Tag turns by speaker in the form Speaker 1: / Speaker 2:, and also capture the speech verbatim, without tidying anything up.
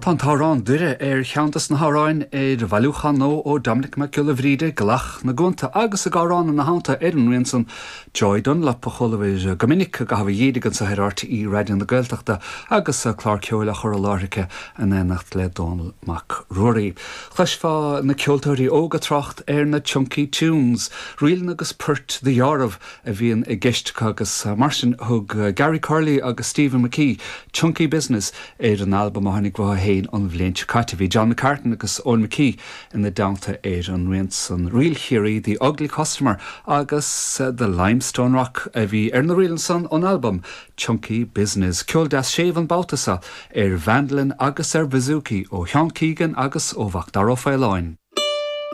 Speaker 1: Tá an t-amhrán Doire ar cheann des na hamhráin ar bhailiúchán nua ó Dominic Mac Giolla Bhríde Glac na gCuanta agus ag amhrán ina theannta ar an rian san Joy Dunlop a chualabhair go minic ag caitheamh a dhídigh anseo ar RTÉ Raidió na Gaeltachta agus clár ceoil á chur i láthair aici in éineacht le Dónal Mac Ruairí. Chloisfeá na ceoltóirí óga ag trácht ar na Chunky Tunes, ríleanna agus poirt dheárbh a bhíonn i gceist agus mar sin thug Gary Curley agus Stephen McKee Chunky Business ar an albam a tháinig uathu féin an bhliain seo caite bhí John McCartan agus Owen McKee ina dteannta ar an rian san Ríl Chiarraí The Ugly Customer agus The Limestone Rock a bhí ar na ríleanna san ón albam Chunky Business. Ceol deas séimh an babhta seo ar mhandolin agus ar bouzouki ó Sheán Keegan agus ó Mhacdara Ó Faoláin.